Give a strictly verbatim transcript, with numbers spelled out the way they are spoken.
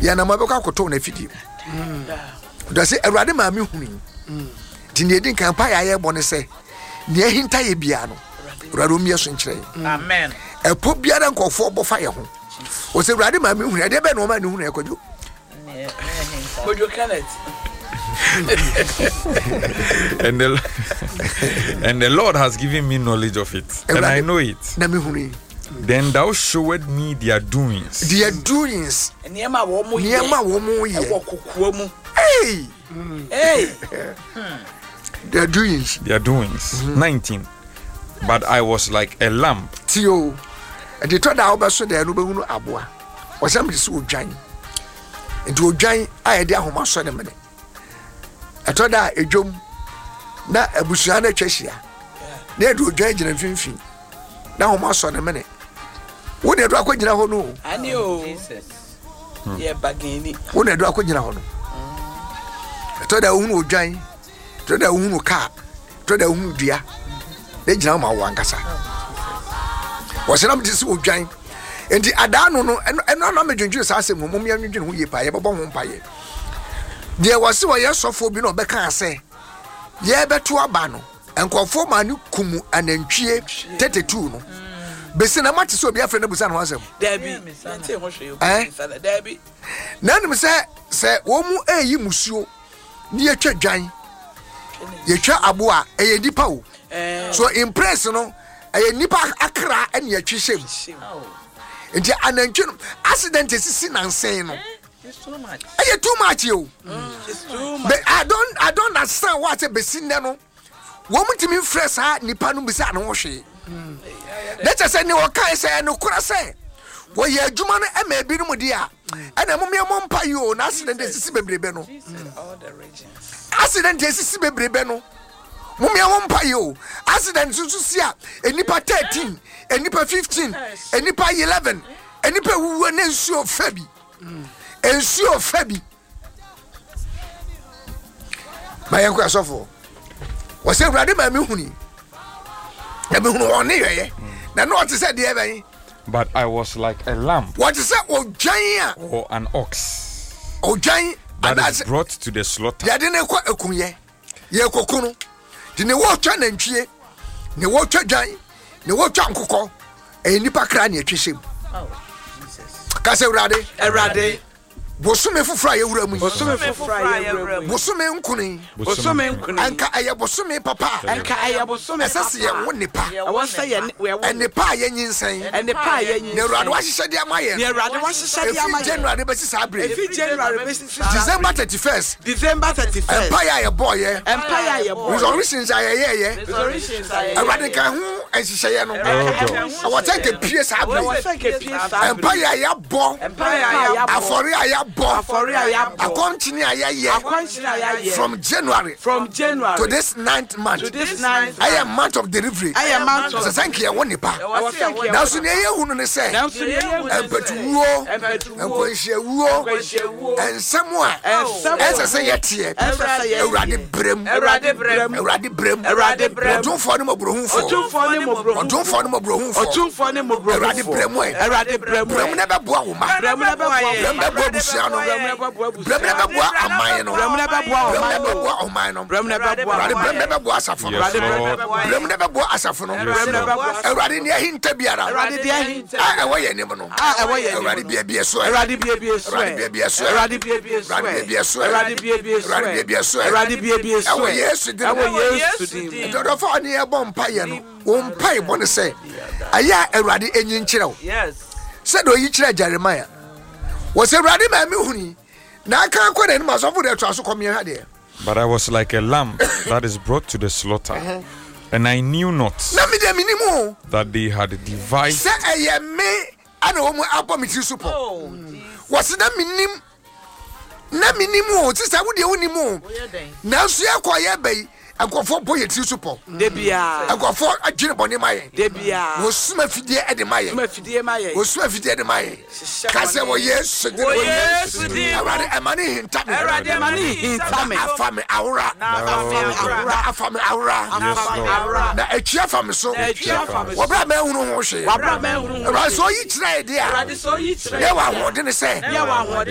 Yɛnam abɛkɔ akɔtɔ wɔn afidie mu. Dɔ sɛ Awurade maa me hunu yi. Nti nea ɛdi nkan pa yɛ ayɛ bɔ ne sɛ nea ahinta yɛ biara no, Awurade ɔmmie so nkyerɛ yɛn. Amen. Ɛpɔ biara nkɔfoɔ bɔ fa yɛ ho. Wɔ sɛ Awurade maa me hunu, ɛdeɛ bɛn na ɔmaa ne hunu ɛkɔdwo? Kojo Kenneth. and the and the Lord has given me knowledge of it, and I know it. Na me hunu yi. Then thou showed me their doings. Their doings. Nneɛma a wɔn yɛ. Nneɛma a wɔn yɛ. Ɛwɔ kokoa mu. Hey! Hey! Their doings. Their doings. Mm-hmm. nineteen. But I was like a lamb. Tio. Ɛde tɔ da a wobɛso deɛ no wobɛhunu aboa. Wɔsɛm de sɛ odwan. Nti odwan a yɛde ahoma sɔ ne mene. Ɛtɔ da a edwom na abusua no atwa ahyia. Na yɛde odwan gyina mfimfini. Na ahoma sɔ ne mene. Wo na ɛdo akɔgyina hɔ no. Ani o. Yɛ bagani. Wo na ɛdo akɔgyina hɔ no. Ɛtɔ da a wohunu odwan. Ɛtɔ da a wohunu kaa. Ɛtɔ da a wohunu dua. Na gyina hɔ ma wo ankasa. Wɔsɛ te sɛ odwan. Nti adaa no no ɛno ɛno anam medwendwene saa asɛm mu mom yɛndwendwene ho yie paa, yɛbɛbɔ ho mpayɛ. Deɛ wɔse wɔyɛ sɔfoɔ bi na ɔbɛka sɛ yɛbɛto aba no, nkɔfoɔ maa ne kum anantwie thirty-two no. Bɛsi na mate sɛ obi afrɛ no busa ne ho asɛm. Dabi. Nte ho hwee. Eh? Dabi. Na anim sɛ sɛ wɔn mu ɛyi musuo ne yɛtwa dwan, yɛtwa aboa, ɛyɛ nipa o. So in press no, ɛyɛ nipa akra ɛne yɛtwe hyɛ mu. Nti anantwie no accident esisi nansen no. Ɛyɛ too much o. It's too much. But I don't I don't understand why sɛ bɛsi nnɛ no wɔn ntumi nfrɛ saa nipa no bisa ne ho hwee. Ne kyɛ sɛ ne wɔkae sɛ ɛnokora sɛ wɔyɛ adwuma no ɛma ebinom di a ɛna mo mmea mo mpa yi o, na accident esisi bebrebe no. All the regions. Accident esisi bebrebe no. Mo mmea mo mpa yi o. Accident nso si a enipa thirteen, enipa fifteen, enipa eleven, enipa ewuwu ne nsuo fɛ bi. Nsuo fɛ bi. Ma yɛn kɔ asɔfo. Wɔsɛ Awurade maa mi huni. Na mi hunu wɔn ne yɛyɛ. Na na ɔte sɛ deɛ bɛn. But I was like a lamb. Wɔte sɛ odwan a. Or an ox. Odwan. That is brought to the slaughter. Yɛde ne kɔ ekunyɛ. Yɛ koko no. De ne wɔtwa nantwie. Ne wɔtwa dwan. Ne wɔtwa nkokɔ. Ɛyɛ nipa kra ne atwi hyɛ mu. Kasa Awurade. Awurade. Bosome foforɔ a yɛwura mu yi. Bosome foforɔ a yɛwura mu yi. Bosome nkuni. Bosome nkuni. Anka ɛyɛ bosome papa. Anka ɛyɛ bosome papa. Ɛsɛ sɛ yɛwo nipa. Ɛwɔ sɛ yɛ Ɛnipa a yɛnyinsɛn. Ɛnipa a yɛnyinsɛn. Na Awurade wahyehyɛ de ama yɛn. Na Awurade wahyehyɛ de ama Efi yɛn. January bɛsi saa bere. Efi January bɛsi saa bere. December thirty first. December thirty first. Mpaeɛ a yɛbɔɔ yɛ. Mpaeɛ a yɛbɔɔ yɛ. Resolutions a yɛyɛɛ yɛ. Resolutions a yɛyɛɛ yɛ. Awurade ka ho nhyehyɛeɛ no. Ɛwɔ sɛ nka pie saa bere. Ɛwɔ sɛ nka pie saa bere. Mpaeɛ a yɛabɔ. Mpaeɛ a yɛabɔ. Afɔre a yɛabɔ. Afɔre a yɛabɔ. Akɔnkyene a yɛyɛ. Akɔnkyene a yɛayɛ. From January. From January. To this ninth month. To this ninth. Ɛyɛ month of delivery. Ɛyɛ month of. Ɛsɛ sɛ nka yɛwɔ nipa. Ɛwɔ sɛ nka yɛwɔ. Nanso nea yɛhu no ne sɛ. Nanso nea yɛhu ne sɛ. Mpɛtuwuo. Mpɛtuwuo. Nkwanhyiawuo. Nkwanhyiawuo. Nsɛm a. Nsɛm a. Ɛsɛ sɛ yɛteɛ. Ɛsɛ sɛ yɛteɛ. Awurade brɛm. Awurade brɛm. Awurade brɛm. Awurade brɛm. Ɔtumfoɔ ne mmɔborɔhufoɔ. Ɔtumfoɔ ne mmɔborɔhufoɔ. Ɔtumfoɔ ne mmɔborɔhufoɔ. Ɔtumfoɔ ne mmɔborɔhufoɔ. Awurade brɛm ɛ. Awurade brɛm ɛ. Brɛm na ɛbɛboa wo ma. Brɛm na ɛbɛboa wo Brɛm bɛboa abusua no. Brɛm na ɛbɛboa abusua. Brɛm na ɛbɛboa aman no. Brɛm na ɛbɛboa Brɛm na ɔman no. ɛbɛboa ɔman no. Brɛm na ɛbɛboa Awurade ɔman brɛm na no. ɛbɛboa asafo no. Yes, Lord. Brɛm na ɛbɛboa asafo no. Yes, Brɛm na Lord. ɛbɛboa. Awurade nea ahinta biara. Awurade deɛ ahinta. A ɛwɔ yɛn anim no. A ɛwɔ yɛn anim no. Awurade biebie so ɛ. Awurade biebie so ɛ. Awurade biebie so ɛ. Awurade biebie so ɛ. Awurade biebie so ɛ. Awurade biebie so ɛ. Awurade biebie so ɛ. Awurade biebie so ɛ. Ɛwɔ Yesu din mu. Ɛwɔ Yesu din mu. Nti ɔdɔfo a ɔne yɛbɔ mpaeɛ no, wo mpaebɔ ne sɛ ɛyɛ a Awurade enyi nkyerɛ wo. Yes. Sɛdeɛ oyi kyerɛ Jeremiah. Wɔ sɛ Awurade maa me huni na aka akɔ n'anim asɔfo deɛ toa so kɔ mmiɛnha deɛ. But I was like a lamb that is brought to the slaughter, and I knew not Na me deɛ menim o that they had devised sɛ ɛyɛ me ana wɔn mu abɔ me tiri so pɔ. Wɔ sɛ na menim na menim o sisa wo deɛ wonim o nanso yɛkɔ yɛba yi nkɔfoɔ bɔ yɛ tiri so pɔ. Debia. Nkɔfoɔ adwene bɔne ma yɛn. Debia. Wɔsuma afidie ɛde ma yɛn. Suma fidie ma yɛn. Wɔsuma afidie de ma yɛn. Hyehyɛ Ka sɛ bɔne. wɔ Yesu din Wɔ Yesu din mu. Awurade ɛma ne hinta me. Awurade ɛma ne hinta me. Afa me awora. Na afa me awora. Na afa me awora. Yes, Afa me Lord. awora. Na akyi afa me so. Na akyi afa me so. Wɔbrɛ a mɛhunu ho hwee. Wabra mɛhunu ho Awurade hwee. sɛ ɔyi kyerɛ yɛ deɛ a. Awurade sɛ ɔyi kyerɛ Yɛ wɔ yɛ deɛ a. ahoɔden sɛ. Yɛ wɔ ahoɔden